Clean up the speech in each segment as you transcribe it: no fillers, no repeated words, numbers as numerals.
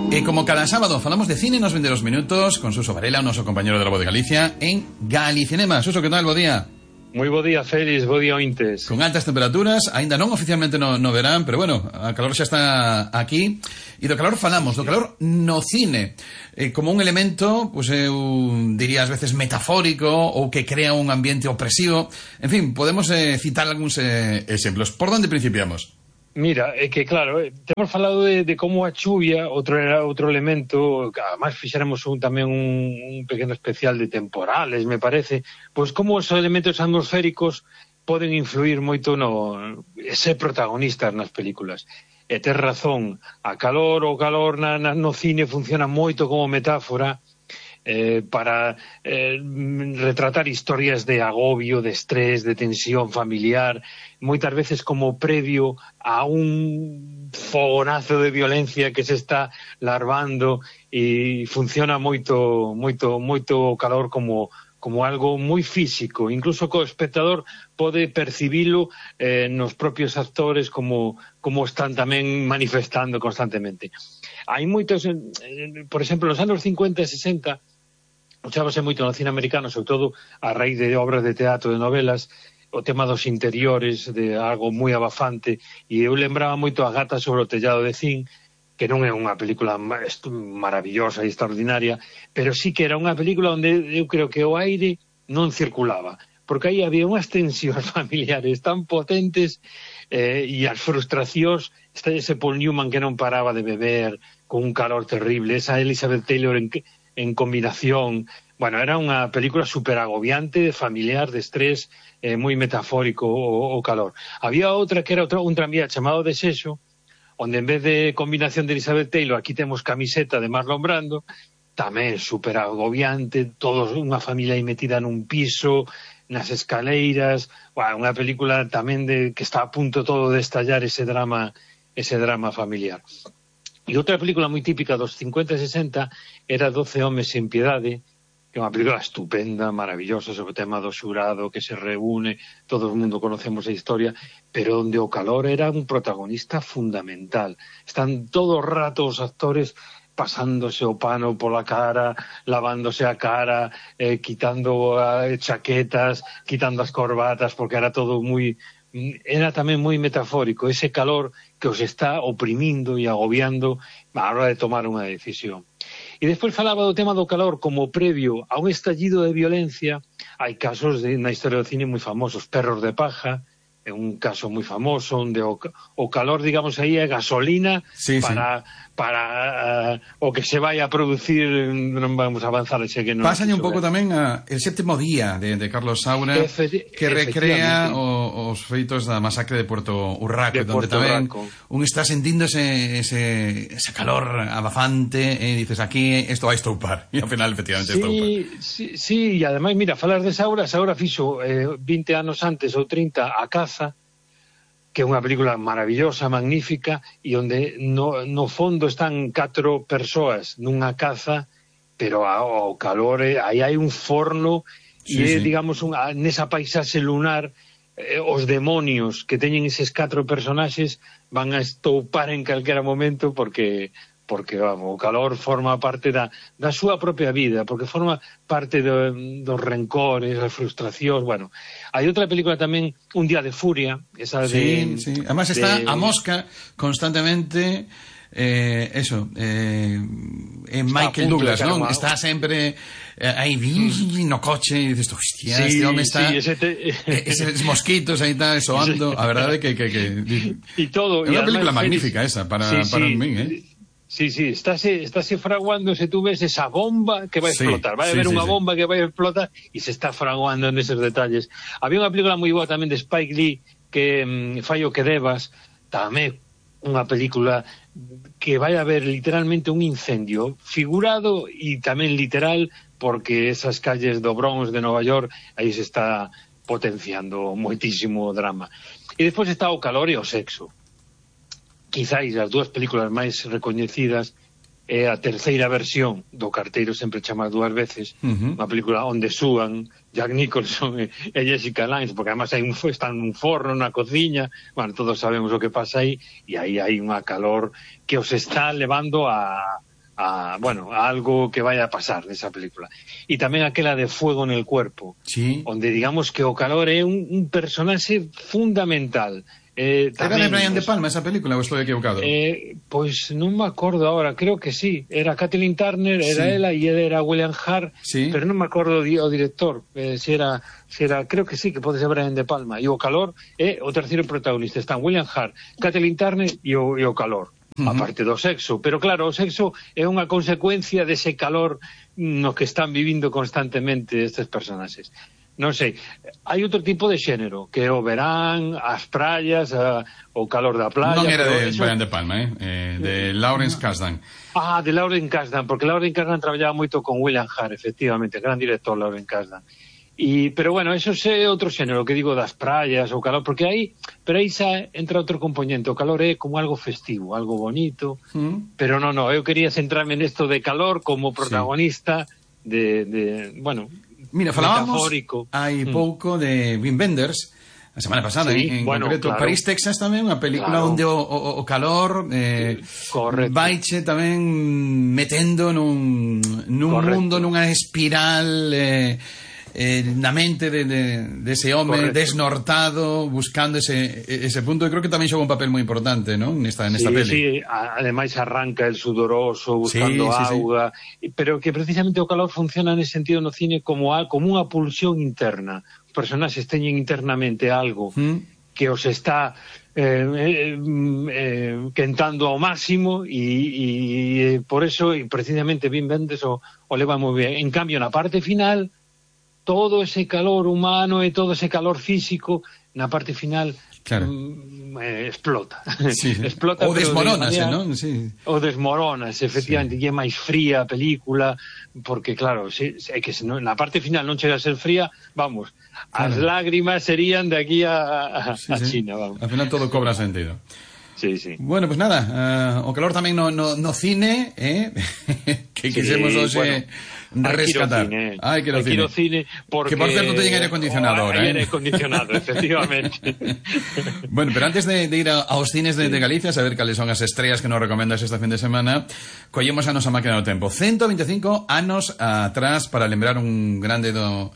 E como cada sábado falamos de cine nos 22 minutos con Suso Varela, o noso compañero de La Voz de Galicia, en Galicinema. Suso, que tal? Bo día. Moi bo día, Félix, bo día, ointes. Con altas temperaturas, aínda non oficialmente no verán, pero bueno, a calor xa está aquí. E do calor falamos, do calor no cine, como un elemento, pues eu diría ás veces metafórico, ou que crea un ambiente opresivo. En fin, podemos citar algúns exemplos. Por onde principiamos? Mira, é que claro, temos falado de como a chuvia, outro elemento, además fixéramos tamén un pequeno especial de temporales, me parece, pois como os elementos atmosféricos poden influir moito ser protagonistas nas películas. E tes razón, o calor no cine funciona moito como metáfora para retratar historias de agobio, de estrés, de tensión familiar, moitas veces como previo a un fogonazo de violencia que se está larvando, e funciona moito o calor como algo moi físico, incluso co espectador pode percibilo nos propios actores como están tamén manifestando constantemente. Hai moitos, por exemplo, nos anos 50 e 60 usábase moito no cine americano, sobre todo a raíz de obras de teatro, de novelas, o tema dos interiores, de algo moi abafante, e eu lembraba moito a Gata sobre o tellado de zinc, que non é unha película maravillosa e extraordinaria, pero sí que era unha película onde eu creo que o aire non circulaba, porque aí había unhas tensións familiares tan potentes e as frustracións, ese Paul Newman que non paraba de beber, con un calor terrible, esa Elizabeth Taylor en combinación. Bueno, era unha película super agobiante, familiar, de estrés, moi metafórico o calor. Había outra que era un tranvía chamado Desexo, onde en vez de combinación de Elizabeth Taylor, aquí temos camiseta de Marlon Brando, tamén super agobiante, todos unha familia aí metida nun piso, nas escaleiras, bueno, unha película tamén que está a punto todo de estallar ese drama familiar. E outra película moi típica dos 50 e 60 era 12 homes sen piedade, que é unha película estupenda, maravillosa, sobre o tema do xurado que se reúne, todo o mundo conocemos a historia, pero onde o calor era un protagonista fundamental. Están todo o rato os actores pasándose o pano pola cara, lavándose a cara, quitando chaquetas, quitando as corbatas, porque era todo era tamén moi metafórico, ese calor que os está oprimindo e agobiando a hora de tomar unha decisión. E despois falaba do tema do calor como previo a un estallido de violencia. Hai casos na historia do cine moi famosos, Perros de paja, é un caso moi famoso onde o calor, digamos, aí é gasolina para o que se vai a producir. Non vamos a avanzar, xe que non. Pásalle un pouco tamén El sétimo día de Carlos Saura, que recrea os feitos da masacre de Puerto Urraco, onde tamén un está sentindo ese calor abafante, e dices, aquí isto vai estoupar, e ao final efectivamente estoupar. Sí, e ademais, mira, falar de Saura fixo 20 anos antes ou 30 A Caza, que é unha película maravillosa, magnífica, e onde no fondo están 4 persoas nunha caza, pero ao calor aí hai un forno, e digamos, nesa paisaxe lunar, os demonios que teñen eses 4 personaxes van a estoupar en calquera momento, porque vamos, o calor forma parte da súa propia vida, porque forma parte dos rencores, das frustracións. Bueno, hai outra película tamén, Un día de furia, esa de... Sí, además está a mosca constantemente, Michael Douglas, non? Está sempre aí no coche, e dices, hostia, este home está... eses mosquitos aí está soando, a verdade que e todo. É unha película magnífica esa, para min, Sí, estáse fraguando, se tú ves esa bomba que vai a explotar, vai haber unha bomba que vai a explotar, e se está fraguando neses detalles. Había unha película moi boa tamén de Spike Lee, que Fai o que debas, tamén unha película que vai a haber literalmente un incendio figurado e tamén literal, porque esas calles do Bronx de Nova York, aí se está potenciando moitísimo o drama. E despois está o calor e o sexo. Quizáis as dúas películas máis recoñecidas é a terceira versión do Carteiro sempre chama 2 veces, unha película onde súan Jack Nicholson e Jessica Lange, porque además están nun forno, na cociña, bueno, todos sabemos o que pasa aí, e aí hai unha calor que os está levando a bueno, a algo que vaya a pasar nesa película. E tamén aquela de Fuego en el cuerpo, sí, onde digamos que o calor é un personaxe fundamental. Era de Brian De Palma esa película, ou estou equivocado? Pois non me acordo agora, creo que sí. Era Kathleen Turner, era ela, e era William Hart, pero non me acordo o director. Se era, creo que sí, que pode ser Brian De Palma. E o calor é o terceiro protagonista. Están William Hart, Kathleen Turner e o calor. A parte do sexo, pero claro, o sexo é unha consecuencia dese calor no que están vivindo constantemente estes personaxes. Non sei, hai outro tipo de xénero, que é o verán, as praias, o calor da playa... Non era de Brian De Palma, de Lawrence Kasdan. De Lawrence Kasdan, porque Lawrence Kasdan traballaba moito con William Hart, efectivamente, gran director Lawrence Kasdan. Pero bueno, eso é outro xénero, que digo das praias, o calor, porque aí xa entra outro componente, o calor é como algo festivo, algo bonito, pero non, eu quería centrarme nesto de calor como protagonista bueno, mira, falábamos hai pouco de Wim Wenders a semana pasada, en concreto, claro. París, Texas tamén, unha película onde o calor vaiche tamén metendo nun mundo, nunha espiral na mente dese home desnortado, buscando ese punto. Eu creo que tamén xoga un papel moi importante, non? Nesta peli. Sí, ademais arranca el sudoroso buscando auga, pero que precisamente o calor funciona nese sentido no cine como unha pulsión interna. Os personaxes teñen internamente algo que os está quentando ao máximo e por eso, e precisamente Wim Wenders o leva moi ben. En cambio, na parte final, todo ese calor humano e todo ese calor físico na parte final explota. Explota, ou desmorónase, non? Sí. Ou desmorónase, efectivamente, e é máis fría a película, porque claro, é que na parte final non chega a ser fría, vamos, as lágrimas serían de aquí a China, vamos. Al final todo cobra sentido. Sí. Bueno, pues nada, o calor tamén no cine, que quisemos hoxe rescatar. Hai que ir ao cine. Porque... Que por certo teñen aire acondicionado ahora, aire acondicionado, efectivamente. Bueno, pero antes de ir aos cines de Galicia, saber cales son as estrellas que nos recomendas esta fin de semana, collemos a nosa máquina do tempo. 125 anos atrás para lembrar un grande do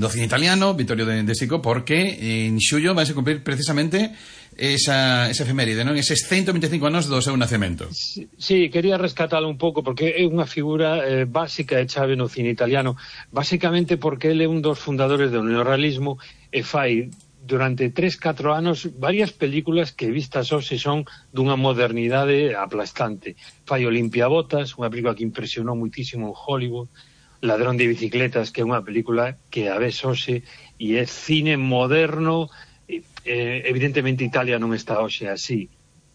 cine italiano, Vittorio de Sico, porque en xullo vai a cumprir precisamente esa efeméride, non? Eses 125 anos do seu nacemento. Sí, quería rescatalo un pouco porque é unha figura básica e chave no cine italiano, basicamente porque ele é un dos fundadores do neorrealismo e fai durante 3-4 anos varias películas que vistas hoxe son dunha modernidade aplastante. Fai Olimpiabotas, unha película que impresionou muitísimo en Hollywood, Ladrón de bicicletas, que é unha película que a ves hoxe e é cine moderno. Evidentemente Italia non está hoxe así,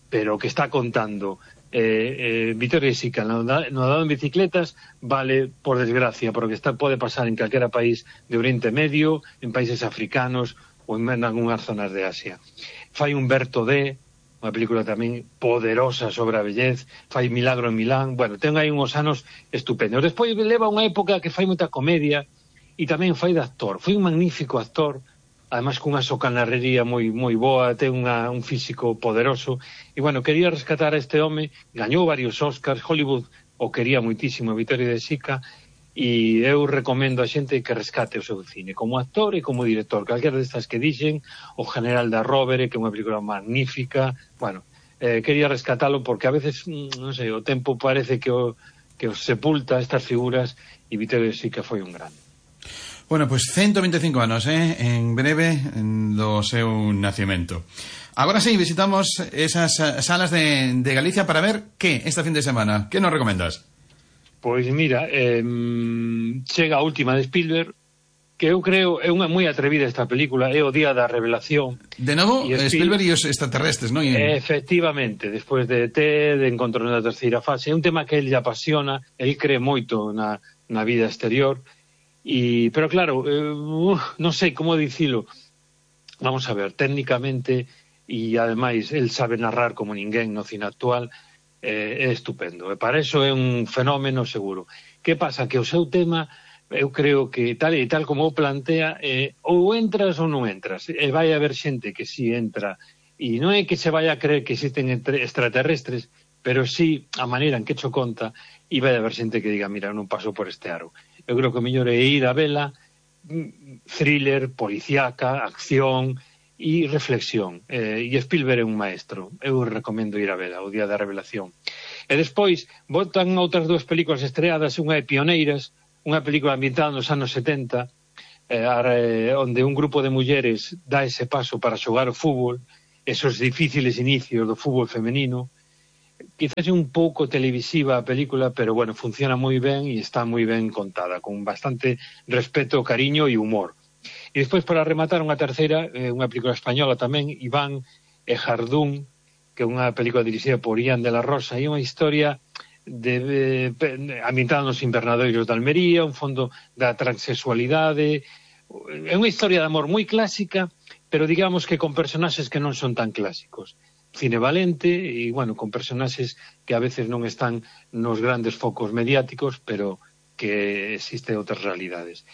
pero que está contando Vittorio De Sica no Ladrón de bicicletas vale, por desgracia, porque pode pasar en calquera país de Oriente Medio, en países africanos ou en algunhas zonas de Asia. Fai Umberto D, unha película tamén poderosa sobre a vellez, fai Milagro en Milán. Bueno, ten aí uns anos estupendos. Despois leva unha época que fai moita comedia e tamén fai de actor. Foi un magnífico actor, además cunha socanarrería moi boa, ten un físico poderoso, e bueno, quería rescatar a este home, gañou varios Oscars, Hollywood o quería moitísimo, Vittorio De Sica, e eu recomendo a xente que rescate o seu cine, como actor e como director, calquera destas que dixen, O General da Rovere, que é unha película magnífica. Bueno, quería rescatalo porque a veces, non sei, o tempo parece que os sepulta estas figuras, e Vittorio De Sica foi un grande. Bueno, pues 125 anos, en breve, do seu nacimento. Agora sí, visitamos esas salas de Galicia para ver que esta fin de semana. Que nos recomendas? Pois mira, chega a última de Spielberg, que eu creo é unha moi atrevida esta película, é o Día da Revelación. De novo, Spielberg e os extraterrestres, non? Efectivamente, despois de ET, de Encontro na terceira fase, é un tema que ele apasiona, ele cree moito na vida exterior. Pero claro, non sei como dicilo. Vamos a ver, técnicamente e ademais el sabe narrar como ninguén no cine actual, é estupendo, e para eso é un fenómeno seguro. Que pasa? Que o seu tema, eu creo que tal como o plantea, ou entras ou non entras, e vai haber xente que si entra, e non é que se vai a creer que existen extraterrestres, pero sí a maneira en que cho conta, e vai haber xente que diga, mira, non paso por este aro. Eu creo que o mellor é ir a vela, thriller, policíaca, acción e reflexión. E Spielberg é un maestro. Eu recomendo ir a vela, o Día da Revelación. E despois botan outras dúas películas estreadas, unha é Pioneiras, unha película ambientada nos anos 70, onde un grupo de mulleres dá ese paso para xogar o fútbol, esos difíciles inicios do fútbol femenino. Quizás é un pouco televisiva a película, pero bueno, funciona moi ben e está moi ben contada, con bastante respeto, cariño e humor. E despois, para rematar, unha terceira, unha película española tamén, Iván e Jardún, que é unha película dirixida por Ian de la Rosa, e unha historia ambientada nos invernadoiros de Almería, un fondo da transexualidade. É unha historia de amor moi clásica, pero digamos que con personaxes que non son tan clásicos. Cine valente e, bueno, con personaxes que a veces non están nos grandes focos mediáticos, pero que existen outras realidades.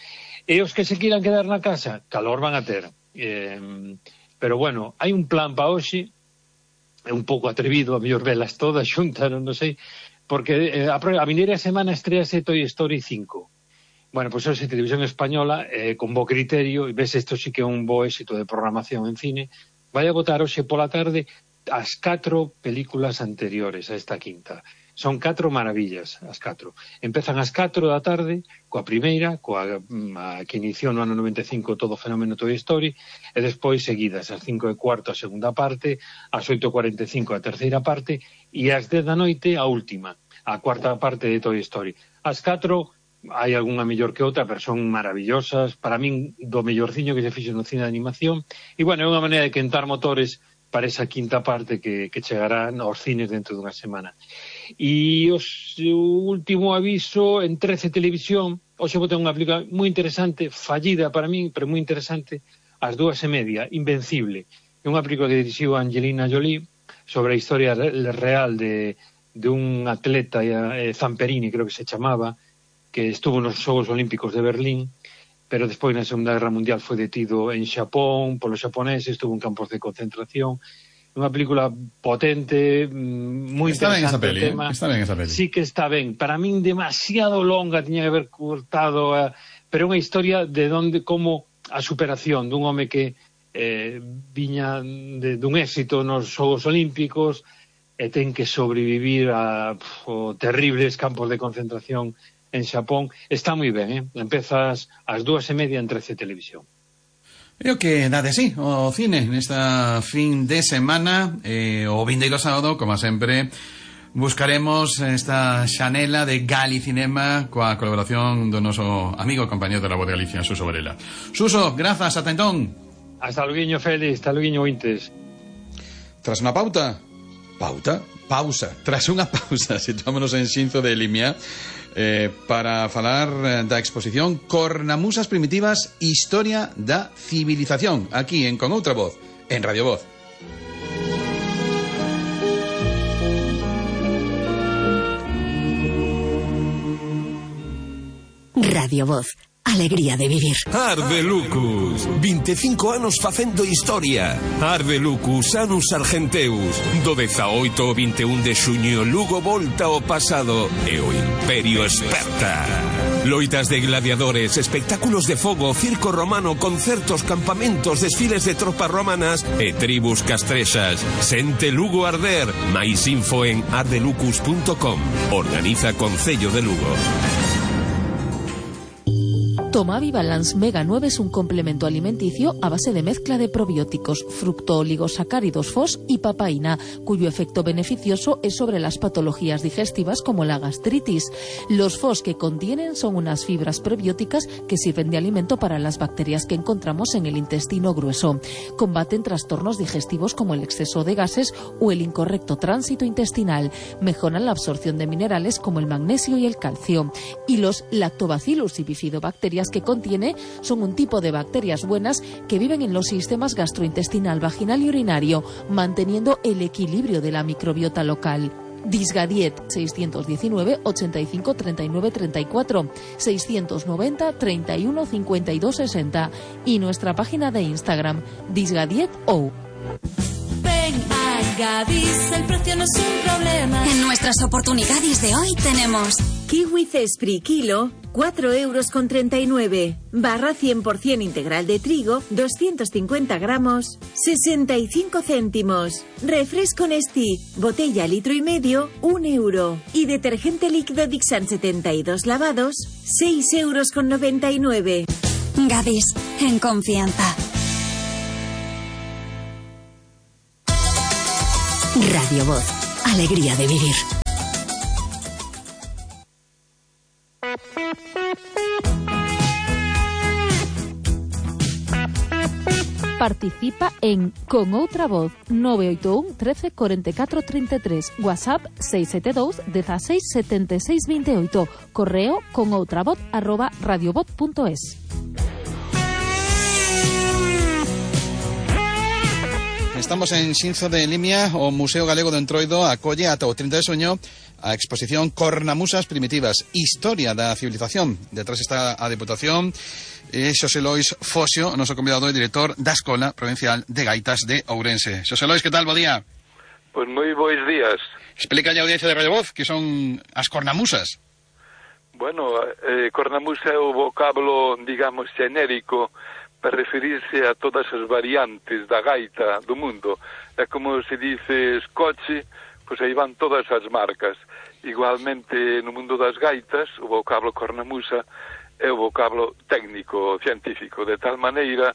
E os que se quieran quedar na casa, calor van a ter. Pero, bueno, hai un plan para hoxe, é un pouco atrevido, a mellor velas todas xuntas, non sei, porque a vindeira semana estrease Toy Story 5. Bueno, pois hoxe Televisión Española, con bo criterio, e ves, isto sí que é un bo éxito de programación en cine, vai a botar hoxe pola tarde as 4 películas anteriores a esta quinta. Son 4 maravillas, as 4. Empezan ás 4 da tarde, coa primeira, coa que iniciou no ano 95 todo o fenómeno Toy Story, e despois seguidas, ás 5:15 a segunda parte, ás 8:45 a terceira parte, e ás 10 da noite a última, a cuarta parte de Toy Story. As 4 hai algunha mellor que outra, pero son maravillosas, para min do mellorciño que se fixo no cine de animación, e bueno, é unha maneira de quentar motores para esa quinta parte que chegará aos cines dentro dunha semana. E o último aviso, en 13 Televisión, hoxe vou ter unha película moi interesante, fallida para min, pero moi interesante, ás 2:30, Invencible. É unha película que dirixiu Angelina Jolie sobre a historia real de un atleta, Zamperini, creo que se chamaba, que estuvo nos Xogos Olímpicos de Berlín, pero despois na Segunda Guerra Mundial foi detido en Xapón polos xaponeses, estuvo en campos de concentración. Unha película potente, moi interesante. Está ben esa peli. Sí que está ben. Para min demasiado longa, tiña que haber cortado, pero é unha historia de como a superación dun home que viña dun éxito nos Xogos Olímpicos e ten que sobrevivir a terribles campos de concentración en Xapón. Está moi ben, Empezas ás 2:30 en 13 Televisión. É o que dá de sí o cine nesta fin de semana. O vindeiro sábado, como sempre, buscaremos esta xanela de Galicinema coa colaboración do noso amigo e compañero de La Voz de Galicia, Suso Varela. Suso, grazas, ata entón. Hasta luguiño, Félix, hasta luguiño, ointes. Tras unha pausa, tras unha pausa, situámonos en Xinzo de Limia, para falar da exposición Cornamusas Primitivas, Historia da Civilización, aquí en Con Outra Voz, en Radio Voz. Radio Voz, alegría de vivir. Arde Lucus, 25 anos facendo historia. Arde Lucus, Anus Argenteus. Do 18 ao 21 de xuño, Lugo volta ao pasado e o Imperio esperta. Loitas de gladiadores, espectáculos de fogo, circo romano, concertos, campamentos, desfiles de tropas romanas e tribus castrexas. Sente Lugo arder. Mais info en ardelucus.com. Organiza Concello de Lugo. Tomavi Balance Mega 9 es un complemento alimenticio a base de mezcla de probióticos, fructooligosacáridos FOS y papaína, cuyo efecto beneficioso es sobre las patologías digestivas como la gastritis. Los FOS que contienen son unas fibras prebióticas que sirven de alimento para las bacterias que encontramos en el intestino grueso. Combaten trastornos digestivos como el exceso de gases o el incorrecto tránsito intestinal. Mejoran la absorción de minerales como el magnesio y el calcio. Y los Lactobacillus y bifidobacterias que contiene son un tipo de bacterias buenas que viven en los sistemas gastrointestinal, vaginal y urinario, manteniendo el equilibrio de la microbiota local. Disgadiet 619 85 39 34 690 31 52 60 y nuestra página de Instagram Disgadiet O. Ven a Gadis, el precio no es un problema. En nuestras oportunidades de hoy tenemos Kiwi Cespri kilo, 4,39 €. Barra 100% integral de trigo, 250 gramos, 65 céntimos. Refresco Nestí, botella litro y medio, 1 €. Y detergente líquido Dixan 72 lavados, 6,99 €. Gadis, en confianza. Radio Voz, alegría de vivir. Participa en Con Outra Voz 981 13 44 33, WhatsApp 672 16 76 28, correo conoutravoz@radiovoz.es. Estamos en Xinzo de Limia, o Museo Galego de Entroido acolle ata o 30 de soño a exposición Cornamusas Primitivas, Historia da Civilización. Detrás está a Deputación, Xosé Lois Fosio, noso convidado e director da Escola Provincial de Gaitas de Ourense. Xosé Lois, que tal? Bo día. Pois moi bois días. Explica a audiencia de Radio Voz que son as cornamusas. Bueno, cornamusa é o vocábulo, digamos, xenérico para referirse a todas as variantes da gaita do mundo. É como se dices coche, pois aí van todas as marcas. Igualmente, no mundo das gaitas, o vocábulo cornamusa é o vocábulo técnico, científico, de tal maneira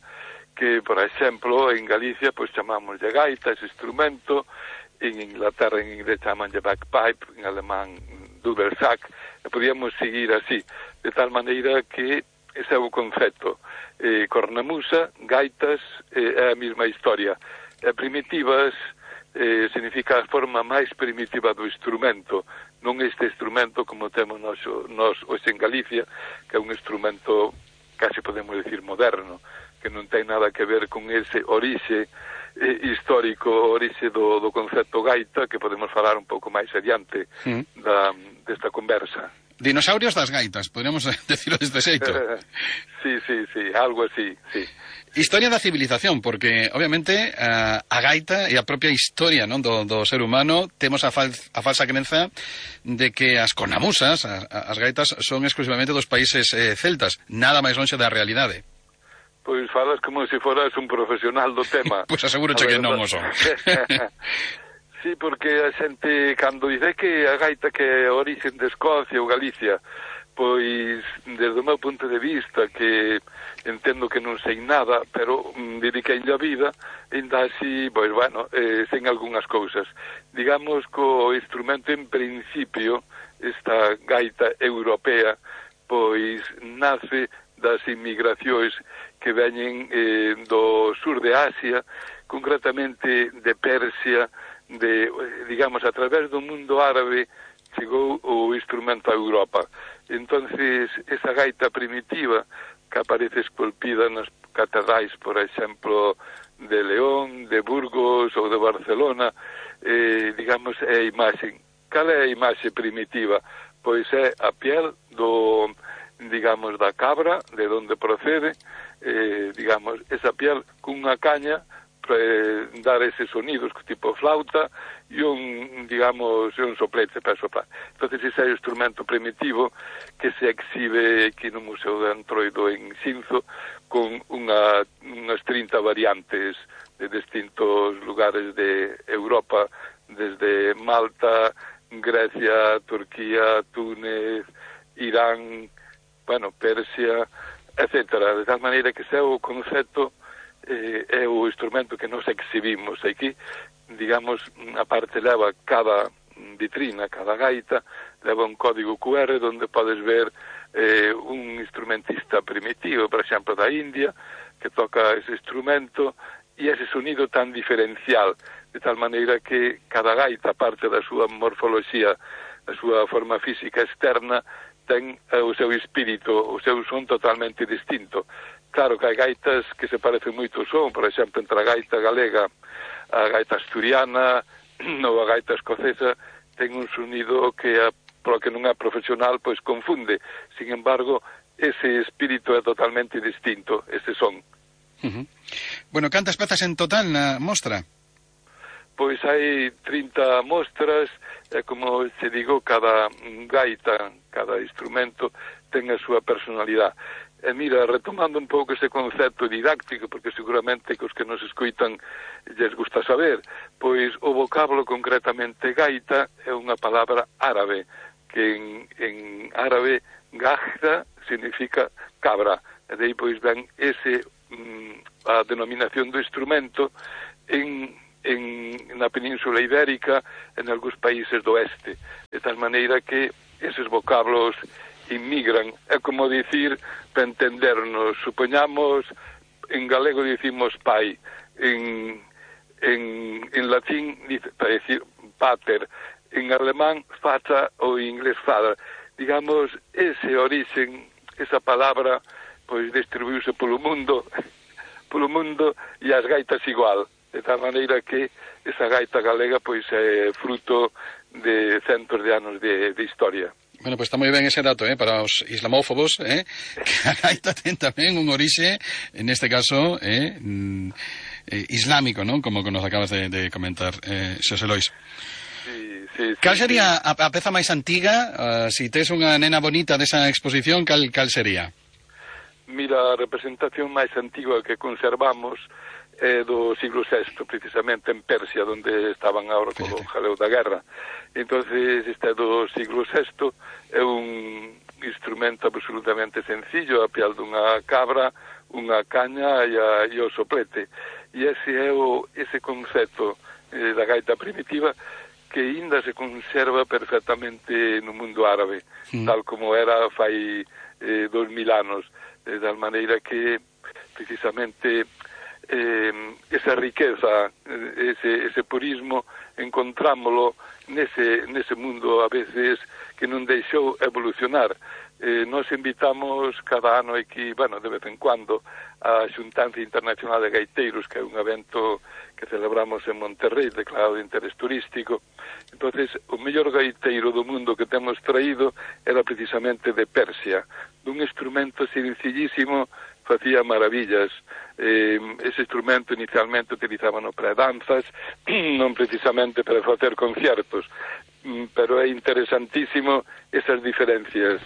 que, por exemplo, en Galicia, pois chamamos de gaita, ese instrumento, en Inglaterra, en inglés, chaman de bagpipe, en alemán, dudelsack, e podíamos seguir así, de tal maneira que ese é o concepto. Cornamusa, gaitas, é a mesma historia. Primitivas significa a forma máis primitiva do instrumento, non este instrumento como temos nós hoxe en Galicia, que é un instrumento casi podemos decir moderno, que non ten nada que ver con ese orixe histórico, orixe do concepto gaita, que podemos falar un pouco máis adiante desta conversa. Dinosaurios das gaitas, podríamos decirlo deste xeito. Sí, algo así, sí. Historia da civilización, porque, obviamente, a gaita e a propia historia, non, do ser humano, temos a falsa crenza de que as cornamusas, as gaitas, son exclusivamente dos países celtas, nada máis lonxe da realidade. Pois falas como se foras un profesional do tema. Pois asegúroche que non o son. Sí, porque a xente, cando dice que a gaita que é a origen de Escocia ou Galicia, pois, desde o meu punto de vista, que entendo que non sei nada, pero dediquei a vida, ainda así, pois, bueno, sen algunhas cousas. Digamos que o instrumento, en principio, esta gaita europea, pois, nace das inmigracións que veñen do sur de Asia, concretamente de Persia, digamos, a través do mundo árabe chegou o instrumento a Europa. Entonces, esa gaita primitiva que aparece esculpida nas catedrais, por exemplo, de León, de Burgos ou de Barcelona, digamos, é a imaxe. Cal é a imaxe primitiva? Pois é a piel digamos, da cabra, de onde procede, digamos, esa piel cunha caña para dar eses sonidos tipo flauta e un soplete para soplar. Entonces ese é o instrumento primitivo que se exhibe aquí no Museo de Entroido en Xinzo con unhas 30 variantes de distintos lugares de Europa, desde Malta, Grecia, Turquía, Túnez, Irán, Persia, etcétera. De tal maneira que ese é o concepto, é o instrumento que nos exhibimos aquí. Digamos, a parte leva cada vitrina, cada gaita, leva un código QR onde podes ver un instrumentista primitivo, por exemplo, da India, que toca ese instrumento e ese sonido tan diferencial, de tal maneira que cada gaita, parte da súa morfoloxía, da súa forma física externa, ten o seu espírito, o seu son totalmente distinto. Claro que hai gaitas que se parecen moito ao son, por exemplo, entre a gaita galega, a gaita asturiana ou a gaita escocesa, ten un sonido que, polo que non é profesional, pois confunde. Sin embargo, ese espírito é totalmente distinto, ese son. Bueno, cantas pezas en total na mostra? pois hai 30 mostras, e como se digo, cada gaita, cada instrumento ten a súa personalidade. E mira, retomando un pouco ese concepto didáctico, porque seguramente que os que nos escoitan lles gusta saber, pois o vocablo concretamente gaita é unha palabra árabe, que en árabe gajda significa cabra, e de aí pois ven a denominación do instrumento na Península Ibérica, en algúns países do oeste, de tal maneira que eses vocablos inmigran. É como dicir, para entendernos, supoñamos, en galego dicimos pai, en latín para decir pater, en alemán fata ou en inglés father. Digamos, ese orixen, esa palabra, pois distribuíuse polo mundo e as gaitas igual, de tal maneira que esa gaita galega pois é fruto de centos de anos de historia. Bueno, pues está moi ben ese dato, para os islamófobos, que a gaita ten tamén un orixe, en este caso, islámico, non? Como nos acabas de comentar, Xosé Lois. Sí, cal sería a peza máis antiga? Si tes unha nena bonita desa exposición, cal sería? Mira, a representación máis antiga que conservamos é do siglo VI, precisamente en Persia, onde estaban agora co jaleo da guerra. Entonces, este do siglo VI é un instrumento absolutamente sencillo, a pial dunha cabra, unha caña e o soplete. E ese é ese concepto da gaita primitiva que ainda se conserva perfectamente no mundo árabe, tal como era fai 2000 anos, de tal maneira que precisamente esa riqueza, ese purismo, encontrámolo nese mundo a veces que non deixou evolucionar. Nos invitamos cada ano aquí, bueno, de vez en cuando, a Xuntanza Internacional de Gaiteiros, que é un evento que celebramos en Monterrey, declarado de interés turístico. Entonces, o mellor gaiteiro do mundo que temos traído era precisamente de Persia, dun instrumento sencillísimo, facía maravillas. Ese instrumento inicialmente utilizábano para danzas, non precisamente para facer conciertos, pero é interesantísimo esas diferencias.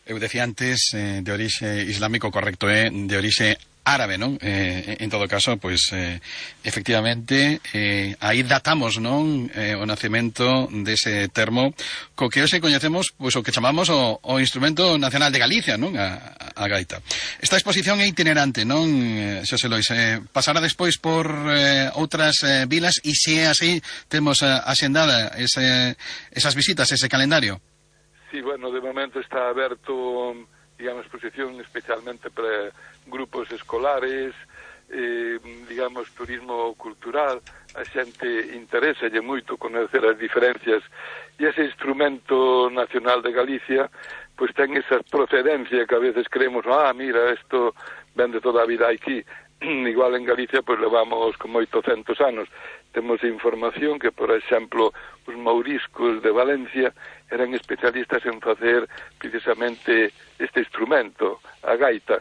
Eu decía antes de orixe islámico, correcto, de orixe árabe, non? En todo caso, pois, efectivamente, aí datamos, non? O nacemento dese termo co que hoxe coñecemos, pois, o que chamamos o instrumento nacional de Galicia, non? A gaita. Esta exposición é itinerante, non, Xosé Lois? Pasará despois por outras vilas e se é así, temos axendada esas visitas, ese calendario? Sí, bueno, de momento está aberto, digamos, exposición especialmente para grupos escolares, digamos, turismo cultural. A xente interesa moito conocer as diferencias e ese instrumento nacional de Galicia pois ten esa procedencia que a veces creemos, mira, isto ven de toda a vida aquí. Igual en Galicia pois levamos como 800 anos. Temos información que, por exemplo, os mouriscos de Valencia eran especialistas en facer precisamente este instrumento, a gaita.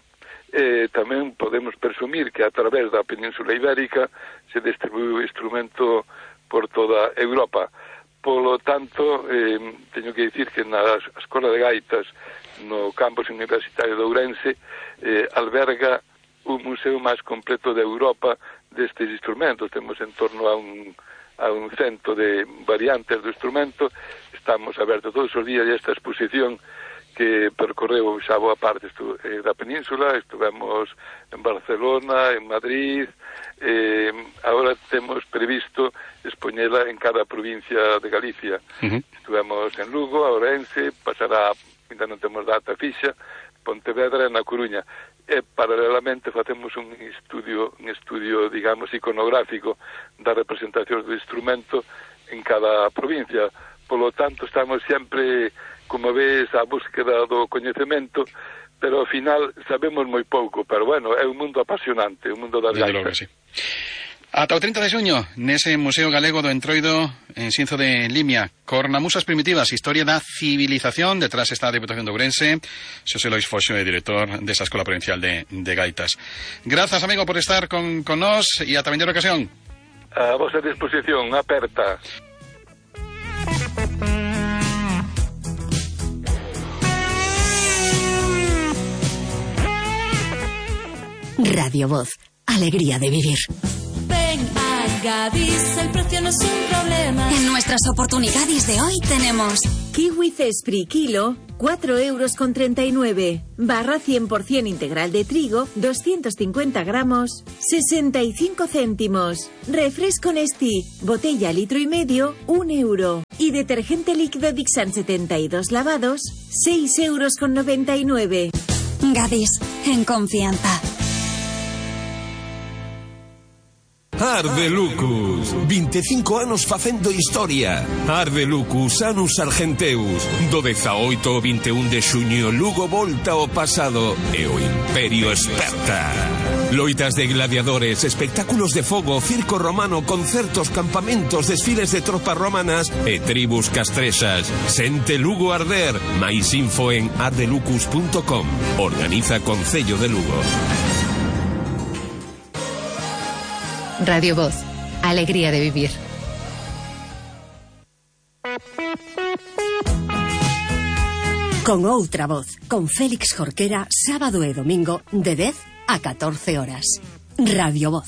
Tamén podemos presumir que a través da Península Ibérica se distribuiu o instrumento por toda Europa. Polo tanto, teño que dicir que na Escola de Gaitas no campus universitario de Ourense alberga o museo máis completo de Europa destes instrumentos. Temos en torno a un 100 de variantes do instrumento. Estamos abertos todos os días e esta exposición que percorreu xa boa parte da península. Estivemos en Barcelona, en Madrid, agora temos previsto expoñela en cada provincia de Galicia. Estivemos en Lugo, a Ourense, pasará, ainda non temos data fixa, Pontevedra e na Coruña. E paralelamente facemos un estudio, digamos, iconográfico da representación do instrumento en cada provincia. Polo tanto, estamos sempre, como ves, a búsqueda do coñecemento, pero ao final sabemos moi pouco, pero bueno, é un mundo apasionante, un mundo das gaitas. Sí. Ata o 30 de xuño, nese Museo Galego do Entroido, en Xinzo de Limia, Cornamusas Primitivas, historia da civilización. Detrás está a Deputación de Ourense. Xosé Lois Foxo é director desa Escola Provincial de Gaitas. Grazas, amigo, por estar con nós e ata vindeira ocasión. A vosa disposición, aperta. Radio Voz, alegría de vivir. Ven a Gadis, el precio no es un problema. En nuestras oportunidades de hoy tenemos Kiwi Cespri kilo, 4,39 €. Barra 100% integral de trigo, 250 gramos, 65 céntimos. Refresco Nestí, botella litro y medio, 1 €. Y detergente líquido Dixan 72 lavados, 6,99 €. Gadis, en confianza. Arde Lucus, 25 anos facendo historia. Arde Lucus, Anus Argenteus. Do 18 ao 21 de xuño, Lugo volta ao pasado e o Imperio esperta. Loitas de gladiadores, espectáculos de fogo, circo romano, concertos, campamentos, desfiles de tropas romanas e tribus castrexas. Sente Lugo arder. Mais info en ardelucus.com. Organiza Concello de Lugo. Radio Voz, alegría de vivir. Con outra voz, con Félix Jorquera, sábado e domingo, de 10 a 14 horas. Radio Voz.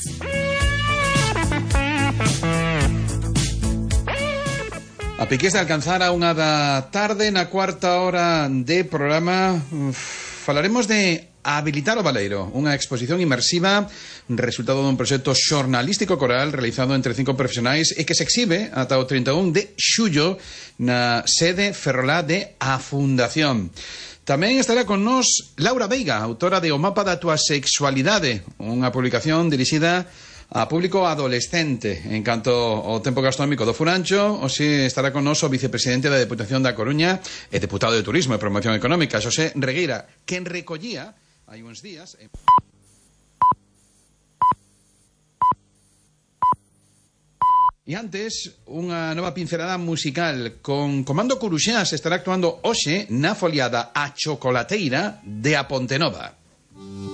A piques de alcanzar a unha da tarde, na cuarta hora de programa, falaremos de Habilitar o Baleiro, unha exposición inmersiva resultado dun proxecto xornalístico coral realizado entre 5 profesionais e que se exhibe ata o 31 de xullo na sede ferrolá de A Fundación. Tamén estará con nós Laura Veiga, autora de O Mapa da Tua Sexualidade, unha publicación dirixida a público adolescente. En canto ao tempo gastronómico do Furancho, hoxe estará con nós o vicepresidente da Deputación da Coruña e deputado de Turismo e Promoción Económica, Xosé Regueira, quen recollía hai uns días... E antes, unha nova pincelada musical con Comando Curuxás estará actuando hoxe na foliada A Chocolateira de A Pontenova.